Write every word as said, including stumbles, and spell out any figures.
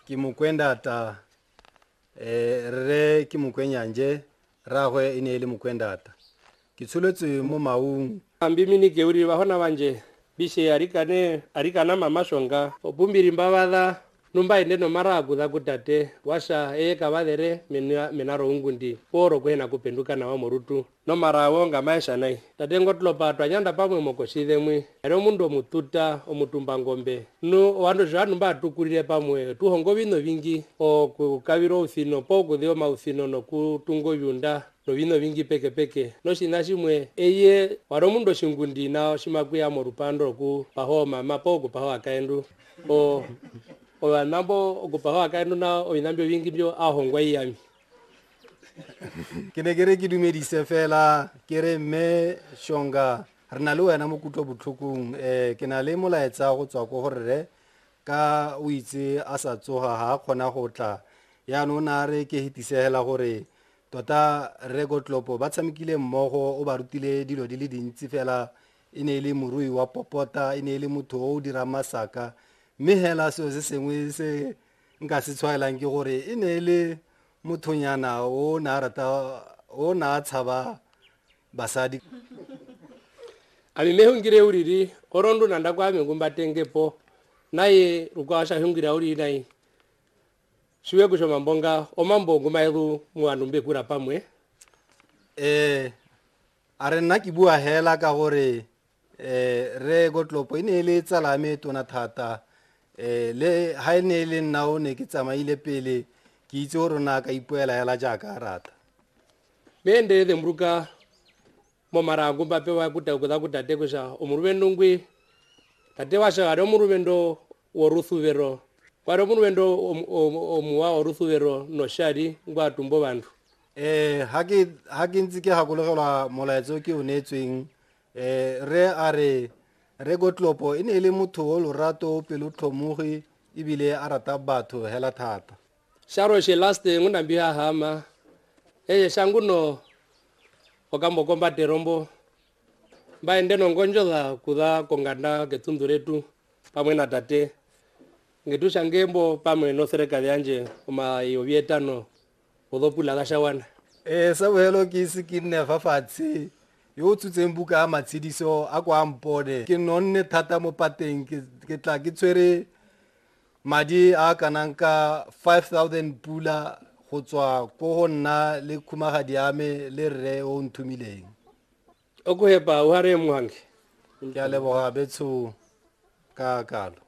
Ke Mokwendata, um rre ke Mokwenyanje, rraagwe e ne e le Mokwendata. Ke tsholetswe mo Maung. Ambimini keuri bahona banje bishe arikane arikana mama shonga opumbiri mbabadha numba ende no mara akudha kutate washa eye kabadhere mena menaro ungundi poro kwena kupenduka na wamorutu no mara wonga maisha nai tate ngotlopa twanyanda pamwe mokoshithe mwi ere omundu omututa omutumba ngombe nu wandu zvanhu mbatukurire pamwe tuhongo bino bingi okukabira outhino po okuthia mauthino nokutunga obyunda novino vingi peke peke noshina shimwe eye wari omundu oshingundi na shimakuya morupando okupaho mama po okupaho akaendu o ovanambo okupaho akaendu na ovinambio vingi byo ahongwa iyami. Ke ne ke re ke dumedise fela ke re mme Shonga re na le wena mo kutlobotlhokong, um ke na le molaetsa go tswa ko go rre ka o itse a sa tsoga ga a kgona go tla, yaanong o ne a re ke hetisegela gore tota rre Kotlopo ba tshamekile mmogo, o ba rutile dilo di le dintsi fela, e ne e le morui wa popota, e ne e le motho o o dirang masaka, mme hela seo se sengwe se nka se tshwaelang ke gore e ne e le mothonyana o ne a rata o ne a tshaba basadi. Ami mehungire uriri orondu nanda kwame ngumbatengepo naye rukwasha hungira uri nai siwe kushoma mbonga omambo ngumaedu muandu mbekura pamwe. Eh a re nna ke bua hela ka gore eh re Kotlopo e ne e le tsala me tona thata, eh le ha e ne e le nna o ne ke tsamaile pele ke itse gore na ka ipoela hela jaaka a rata. Mende the mruka momara ngumba pewa kuta kutha kutate kusha omurubendo ngwi tate washa ari omurubendo woruthuvero kwari omurubendo omuwa oruthuvero noshari ngwa tumbo bantu. Eh ha ke ha ke ntse ke gakologelwa molaetso ke o neetsweng, eh re a re re Kotlopo e ne e le motho o lorato, pelotlhomogi ebile a rata batho hela thata. Sharo she last ngunambiha hama eye shanguno okambo komba terombo mbaende nongonjola kutha kongana ketundu letu pamwe na tate ngetusha ngembo pamwe no serikali yanje oma yobietano odopula gashawana. Eh sa bohelo ke ise ke nne fa fatshe yo o tshotseng buka ya matshediso a kwa mpone ke nonne thata mo pateng, ke ke tla ke tshwere madi a kanang ka five thousand pula go tswa ko go nna le khumagadi ya me le rre o nthumileng. O go hepa o hare mohange. Ke a leboga betsho ka kalo.